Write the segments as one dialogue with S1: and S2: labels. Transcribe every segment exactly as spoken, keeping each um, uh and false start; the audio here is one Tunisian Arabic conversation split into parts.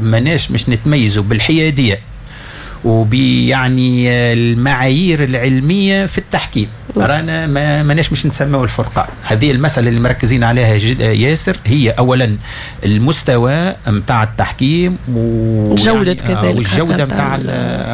S1: ماناش مش نتميزوا بالحياديه وبيعني المعايير العلمية في التحكيم، رانا ما ماناش مش نسميو الفرقان. هذه المسالة اللي مركزين عليها ياسر، هي اولا المستوى نتاع التحكيم
S2: والجودة كذلك،
S1: والجودة نتاع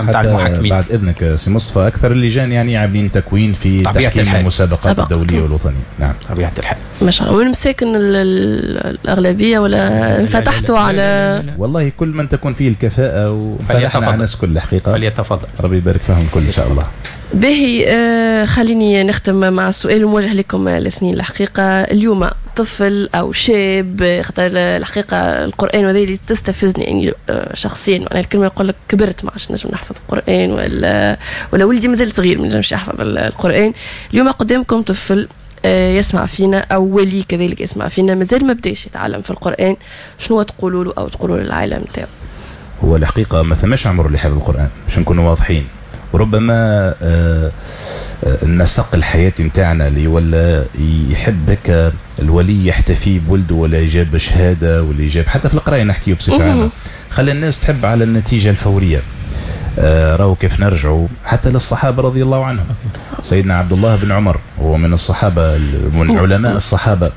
S1: نتاع المحكمين.
S3: بعد اذنك سي مصطفى، اكثر اللجان يعني عاملين تكوين في تحكيم المسابقات الدولية والوطنيه. نعم
S1: طبيعة الحال.
S2: ما شاء الله. والمساكن الاغلبية ولا انفتحتوا على؟ لا
S3: لا لا. والله كل من تكون فيه الكفاءة وفليتفضل على الناس كل الحقيقة،
S1: فليتفضل،
S3: ربي يبارك فيهم كل ان شاء الله.
S2: باهي، آه خليني نختم مع سؤال موجه لكم الاثنين. الحقيقة اليوم طفل او شاب، خاطر الحقيقة القران وهذا اللي تستفزني يعني شخصيا، معناها الكلمة يقول لك كبرت ما عادش نجم نحفظ القران، ولا ولا ولدي مازال صغير ما نجمش يحفظ القران. اليوم قدامكم طفل يسمع فينا او ولي كذلك يسمع فينا مازال ما بداش يتعلم في القران، شنو تقولوا له او تقولوا للعائلة نتاعو؟
S3: هو الحقيقة ما ثماش عمر لحفظ القران باش نكونوا واضحين. وربما النسق الحياتي نتاعنا اللي ولا يحب هكا الولي يحتفي بولده ولا يجاب شهادة ولا يجاب حتى في القراية نحكيو بصفة عامة، خلى الناس تحب على النتيجة الفورية. آه راهو كيف نرجعوا حتى للصحابة رضي الله عنهم، سيدنا عبد الله بن عمر هو من الصحابة من علماء الصحابة،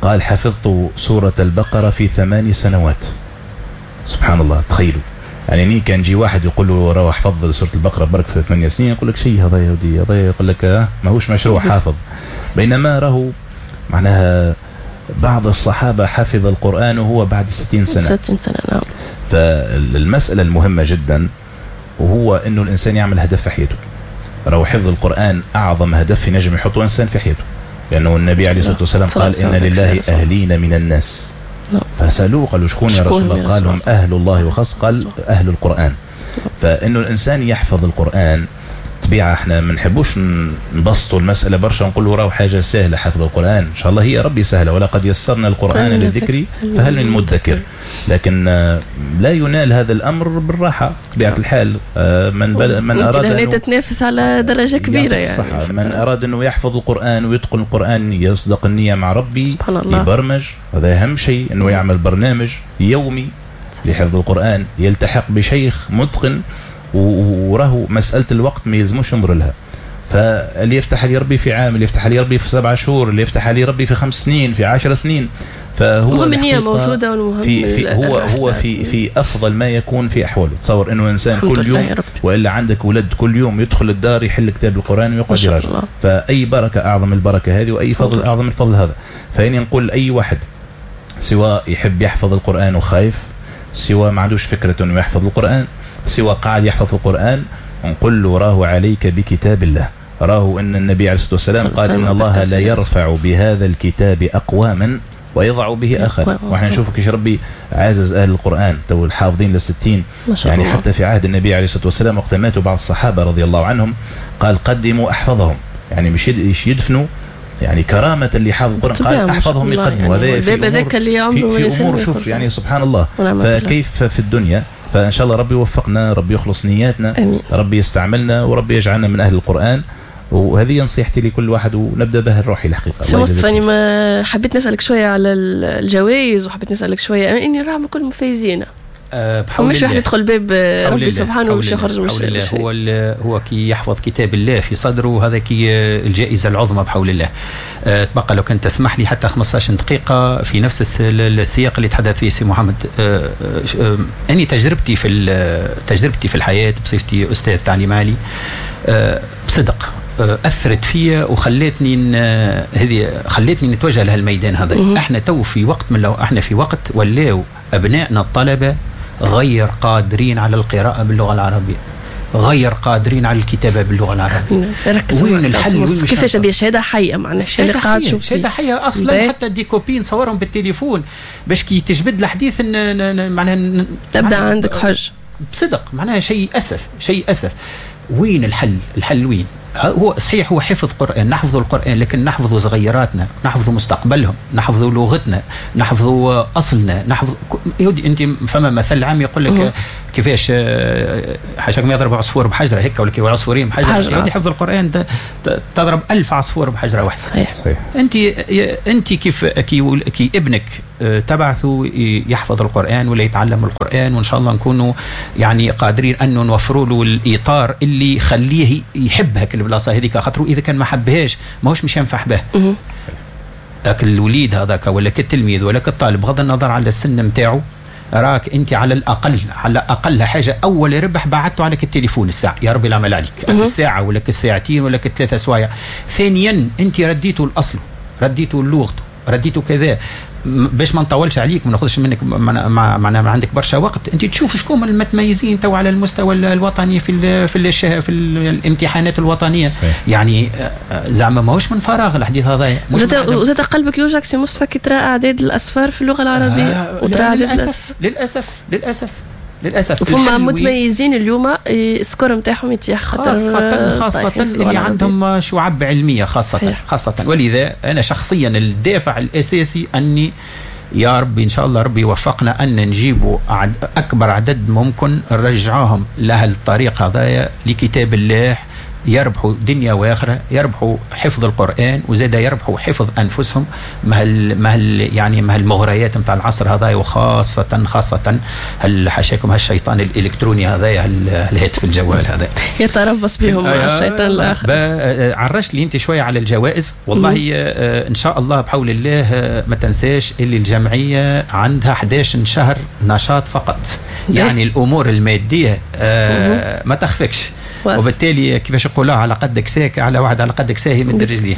S3: قال حفظت سورة البقرة في ثمان سنوات. سبحان الله، تخيلوا يعني ني كان جي واحد يقول له راه حفظ سورة البقرة برك في ثمانية سنين، يقول لك شيء هذا يا ودي، هذا يقول لك ماهوش مشروع حافظ. بينما راهو معناها بعض الصحابة حفظ القرآن وهو بعد ستين سنة.
S2: ستين سنة نعم.
S3: فالمسألة المهمة جدا وهو انه الانسان يعمل هدف في حياته. راهو حفظ القرآن اعظم هدف ينجم يحطه انسان في حياته، لانه النبي عليه الصلاة والسلام قال ان لله اهلين من الناس. فسألوه قالوا شكون يا رسول الله؟ قال هم أهل الله وخاصة، قال أهل القرآن. فإنه الإنسان يحفظ القرآن طبيعة، احنا ما نحبوش نبسطوا المسألة برشا نقولوا راهو حاجة سهلة حفظ القرآن، إن شاء الله هي ربي سهلة، ولقد يسرنا القرآن للذكر فهل من مدكر. لكن لا ينال هذا الأمر بالراحة طبيعة الحال. من بل من أراد
S2: أن تتنافس على درجة كبيرة يعني
S3: صح. من أراد أنه يحفظ القرآن ويتقن القرآن يصدق النية مع ربي، سبحان الله، يبرمج، هذا أهم شيء أنه يعمل برنامج يومي لحفظ القرآن، يلتحق بشيخ متقن، وراه مسألة الوقت ما يلزموش ينظر لها. فاللي يفتح لي ربي في عام، اللي يفتح لي ربي في سبعة شهور، اللي يفتح لي ربي في خمس سنين، في عشر سنين، فهو
S2: المهم النية موجودة، والمهم
S3: في في هو هو في في أفضل ما يكون في أحواله. تصور إنه إنسان كل يوم، وإلا عندك ولد كل يوم يدخل الدار يحل كتاب القرآن ويقعد يراجع، فأي بركة أعظم البركة هذه، وأي فضل أعظم الفضل هذا. فإني نقول أي واحد سواء يحب يحفظ القرآن وخايف، سواء ما عندوش فكرة إنه يحفظ القرآن، سواء قاعد يحفظ القرآن، نقول له راه عليك بكتاب الله. راه أن النبي عليه الصلاة والسلام قال إن الله لا يرفع بهذا الكتاب أقواما ويضع به آخر. وإحنا نشوف كيش ربي عزز أهل القرآن تو الحافظين للستين، يعني الله. حتى في عهد النبي عليه الصلاة والسلام وقت ماتوا بعض الصحابة رضي الله عنهم قال قدموا أحفظهم، يعني مش يدفنوا يعني كرامة اللي حافظ القرآن، قال أحفظهم يقدموا. هذا في أمور، في, في أمور شوف يعني سبحان الله. فكيف في الدنيا؟ فإن شاء الله ربي يوفقنا، ربي يخلص نياتنا، أمين. ربي يستعملنا، وربي يجعلنا من أهل القرآن. وهذه نصيحتي لكل واحد، ونبدأ بها الروحي الحقيقة.
S2: سي مصطفى، ما حبيت نسألك شوية على الجوائز، وحبيت نسألك شوية إني راهم كل مفايزين.
S1: أه بحول
S2: مش واحد يدخل باب ربي سبحانه ومش يخرج مش
S1: الله. هو هو كي يحفظ كتاب الله في صدره، هذا كي الجائزة العظمى بحول الله. أه تبقى لو كنت تسمح لي حتى خمسطاش دقيقة في نفس السياق اللي تحدث فيه سي محمد. أه أه أني تجربتي في تجربتي في الحياة بصفتي أستاذ تعليم عالي، أه بصدق أثرت فيا وخلتني هذه خلتني نتوجه لهالميدان هذا. احنا تو في وقت من لو احنا في وقت ولاو أبنائنا الطلبة غير قادرين على القراءة باللغة العربية، غير قادرين على الكتابة باللغة العربية. وين الحل؟ وين
S2: كيفاش هذه شهادة حية؟ معناها
S1: شهادة حية، شهادة حية أصلا. حتى des copies نصورهم بالتليفون باش كي تجبد الحديث معناها
S2: تبدأ عندك حج
S1: بصدق، معناها شيء أسف، شيء أسف. وين الحل؟ الحل وين؟ هو صحيح هو حفظ قرآن، نحفظ القرآن، لكن نحفظ صغيراتنا، نحفظ مستقبلهم، نحفظ لغتنا، نحفظ أصلنا، نحفظ. أنت فما مثل عام يقول لك كيفاش حاشاكم ما يضرب عصفور بحجرة هيك، ولا كيف عصفورين بحجرة. يعني حفظ القرآن تضرب ألف عصفور بحجرة واحدة.
S2: صحيح.
S3: صحيح.
S1: أنت أنت كيف كي, كي ابنك تبعثه يحفظ القرآن ولا يتعلم القرآن، وإن شاء الله نكونوا يعني قادرين أنه نوفروا له الإطار اللي يخليه يحب هاك البلاصة هذيك، خاطر إذا كان ما حبهاش ماهوش مش ينفع به. لكن الوليد هذاك ولا كالتلميذ ولا كالطالب، بغض النظر على السن نتاعو، راك انت على الاقل على اقل حاجة اول ربح بعته عليك التليفون الساعة، يا ربي العمل عليك الساعة ولا الساعتين ولا الثلاثة سوايع. ثانيا انت رديته الاصل، رديته لغته، رديته كذا، باش ما نطولش عليك، ما ناخذش منك معناها ما عندك برشا وقت. انت تشوف شكون المتميزين تو على المستوى الوطني في ال في ال في الامتحانات الوطنية. صحيح. يعني زعما ماهوش من فراغ الحديث هذايا.
S2: وزاد قلبك يوجعك سي مصطفى كي ترى اعداد الاصفار في اللغة العربية. آه وترى اعداد
S1: للاسف للاسف للاسف للاسف
S2: فما متميزين اليوم ال score نتاعهم يتيح، خاطر
S1: خاصة خاصة اللي عندهم شعب علمية خاصة. صحيح. خاصة. ولذا انا شخصيا الدافع الاساسي اني يا ربي ان شاء الله ربي يوفقنا ان نجيبوا اكبر عدد ممكن، نرجعوهم لهالطريق هذايا لكتاب الله، يربحوا دنيا واخره، يربحوا حفظ القرآن، وزاد يربحوا حفظ أنفسهم مع مع يعني مع المغريات نتاع العصر هذا، وخاصة خاصة حاشاكم هالشيطان الإلكتروني هذا، الهاتف الجوال هذا
S2: يتربص بهم الشيطان الآخر.
S1: عرجت لي أنت شوية على الجوائز. والله إن شاء الله بحول الله ما تنساش اللي الجمعية عندها أحد عشر شهر نشاط فقط، يعني الأمور المادية ما تخفكش، وبالتالي كيفاش يقولوها على قدك ساك على واحد على قدك ساهي من رجليه.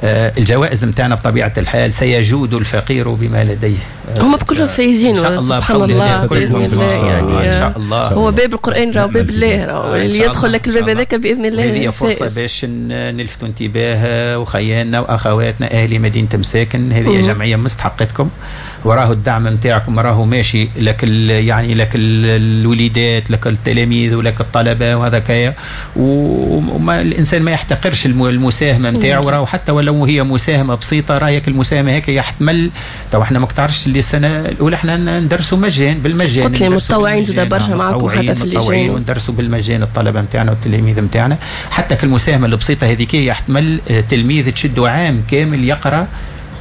S1: آه الجوائز نتاعنا بطبيعة الحال سيجود الفقير بما لديه.
S2: آه هم بكلهم فايزين سبحان الله باذن الله، يعني
S1: ان شاء الله
S2: هو باب القران راهو باب الله، راهو اللي يدخل لك الباب هذاك باذن الله.
S1: هذه فرصة باش نلفتوا انتباه وخياننا واخواتنا اهل مدينة مساكن، هذه جمعية مستحقتكم، وراه الدعم نتاعكم راهو ماشي لك يعني لك الوليدات، لك التلاميذ ولك الطلبة وهذا كايا، وما الانسان ما يحتقرش المساهمة نتاعو، راهو حتى ولو هي مساهمة بسيطة راهيك المساهمة هيك يحتمل. تو احنا ما تعرفش اللي السنة الاولى احنا ندرسوا مجان بالمجان،
S2: قلت لي متطوعين زاد برشا معاكم حتى في اللجان،
S1: وندرسوا بالمجان الطلبة نتاعنا والتلاميذ نتاعنا. حتى المساهمة البسيطة هذيك يحتمل تلميذ تشدوا عام كامل يقرا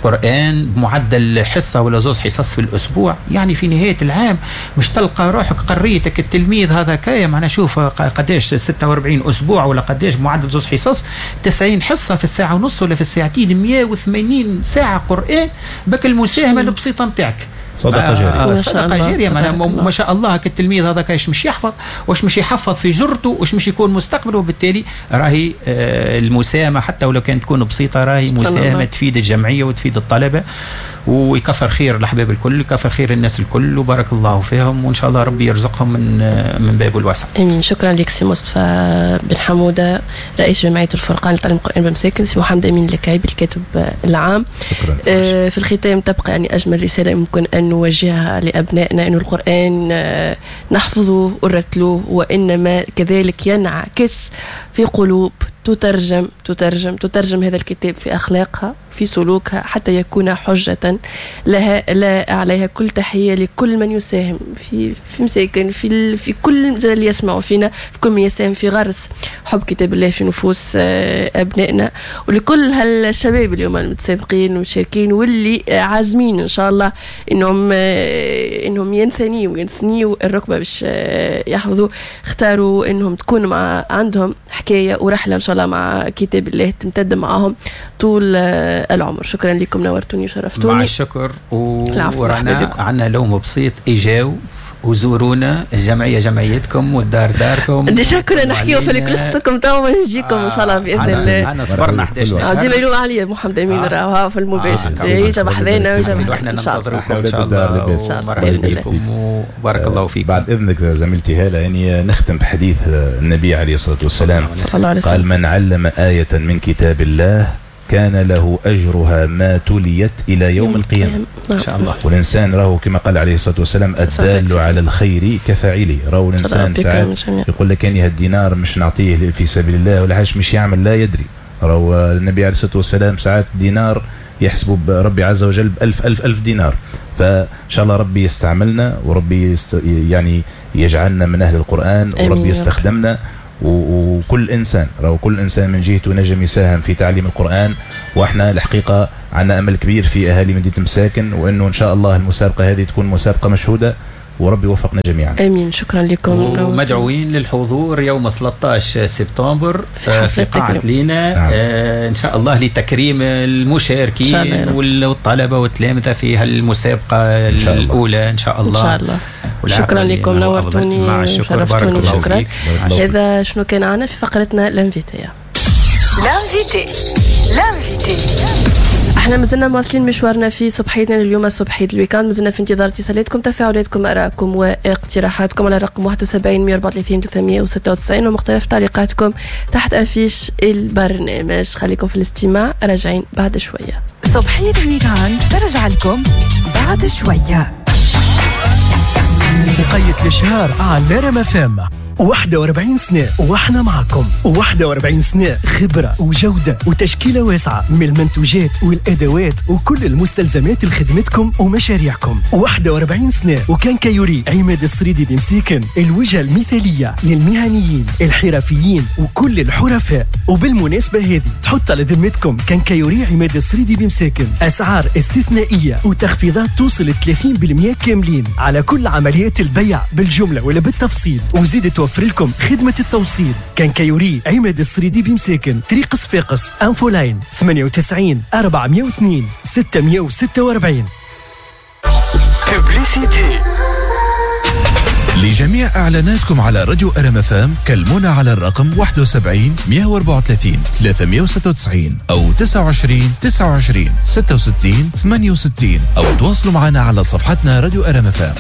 S1: قرآن بمعدل حصة ولا زوز حصص في الأسبوع، يعني في نهاية العام مش تلقى روحك قريتك التلميذ هذا كاية، معنا شوف قداش ستة وأربعين أسبوع ولا قداش بمعدل زوز حصص، تسعين حصة في الساعة ونص ولا في الساعتين، مئة وثمانين ساعة قرآن بك المساهمة البسيطة نتاعك.
S3: صدقة جارية.
S1: صدقة جارية، ما شاء الله التلميذ هذا كاش مش يحفظ، واش مش يحفظ في جرته، واش مش يكون مستقبله، وبالتالي راهي المساهمة حتى ولو كانت تكون بسيطة راهي مساهمة تفيد الجمعية وتفيد الطلبة، ويكثر خير الأحباب الكل، يكثر خير الناس الكل، وبارك الله فيهم، وإن شاء الله ربي يرزقهم من من بابه الواسع.
S2: آمين. شكرا لك سي مصطفى بن حمودة رئيس جمعية الفرقان لتعليم القرآن بمساكن، سي محمد أمين الكعيبي الكاتب العام.
S3: شكرا.
S2: آه في الختام تبقى يعني أجمل رسالة يمكن أن نوجهها لأبنائنا، أن القرآن آه نحفظه ونرتلوه، وإنما كذلك ينعكس في قلوب تترجم تترجم تترجم هذا الكتاب في أخلاقها في سلوكها حتى يكون حجة لها لا عليها. كل تحية لكل من يساهم في في مساكن، في في كل اللي يسمعوا فينا، في كل من يساهم في غرس حب كتاب الله في نفوس أبنائنا، ولكل هالشباب اليوم المتسابقين والمشاركين واللي عازمين إن شاء الله إنهم إنهم ينثنيوا وينثنيوا الركبة باش يحفظوا. اختاروا إنهم تكون مع عندهم حكاية ورحلة إن شاء الله مع كتاب الله تمتد معهم طول العمر. شكرا لكم، نورتوني وشرفتوني.
S1: مع الشكر. ورانا عندنا لوم بسيط، اجاو وزورونا، الجمعية جمعيتكم والدار داركم.
S2: déjà كنا نحكيو في الكلستكم تو نجيكم ان شاء الله باذن الله.
S1: انا صبرنا إحدى عشر شهر.
S2: ديما يلوم عليا محمد امين راه في المباشر يجي بحذانا
S1: ويجي، واحنا ننتظركم ان شاء الله. مرحبا بكم وبارك الله فيكم.
S3: بعد اذنك زميلتي هاله، يعني نختم بحديث النبي عليه الصلاة والسلام، قال: من علم آية من كتاب الله كان كان له أجرها ما تليت إلى يوم القيامة.
S1: إن شاء الله.
S3: والإنسان راهو كما قال عليه الصلاة والسلام الدال على الخير كفاعله. راهو الإنسان ساعات يقول لك أني هالدينار مش نعطيه في سبيل الله ولا حاجة، مش يعمل لا يدري. راهو النبي عليه الصلاة والسلام ساعات دينار يحسبه ربي عز وجل بألف ألف ألف دينار. فإن شاء الله ربي يستعملنا وربي يست... يعني يجعلنا من أهل القرآن، وربي يستخدمنا. وكل إنسان راهو كل إنسان من جهته نجم يساهم في تعليم القرآن. وإحنا الحقيقة عندنا أمل كبير في أهالي مدينة مساكن، وإنه إن شاء الله المسابقة هذه تكون مسابقة مشهودة، وربي يوفقنا جميعا.
S2: امين. شكرا لكم.
S1: ومدعوين للحضور يوم ثلاثة عشر سبتمبر في قاعة لينا. نعم. آه ان شاء الله لتكريم المشاركين والطلبة والتلامذه في هالمسابقه الاولى ان شاء الله.
S2: ان شاء الله. شكرا لكم، نورتوني.
S1: مع الشكر، بارك الله
S2: شكرا. هذا شنو كان عنا في فقرتنا l'invité.
S4: l'invité l'invité
S2: احنا مازلنا مواصلين مشوارنا في صبحيتنا اليوم، صبحية ال week-end. مازلنا في انتظار اتصالاتكم، تفاعلاتكم، ارائكم واقتراحاتكم على رقم واحد وسبعين مئة وأربعة وثلاثين ثلاثمئة وستة وتسعين ومختلف تعليقاتكم تحت affiche البرنامج. خليكم في الاستماع، راجعين بعد شوية.
S4: صبحية ال week-end ترجع لكم بعد شوية.
S5: وقيت الإشهار على رام فام. واحد وأربعين سنة واحنا معكم، واحد وأربعين سنة خبرة وجودة وتشكيلة واسعة من المنتوجات والأدوات وكل المستلزمات لخدمتكم ومشاريعكم. واحد وأربعين سنة و quincaillerie عماد السريدي بمسيكن، الوجهة المثالية للمهنيين الحرفيين وكل الحرفاء. وبالمناسبة هذه تحط على ذمتكم quincaillerie عماد السريدي بمساكن أسعار استثنائية وتخفيضات توصل ثلاثين بالمئة كاملين على كل عمليات البيع بالجملة ولا بالتفصيل، وزيد توفر لكم خدمة التوصيل. quincaillerie عماد السريدي بمساكن، طريق صفاقس، infoline ثمانية وتسعين أربعمئة واثنين ستمئة وستة وأربعين.
S6: Publicité. لجميع إعلاناتكم على راديو أرم إف إم كلمونا على الرقم واحد وسبعين مئة وأربعة وثلاثين ثلاثمئة وستة وتسعين أو تسعة وعشرين تسعة وعشرين ستة وستين ثمانية وستين، أو تواصلوا معنا على صفحتنا راديو أرم إف إم.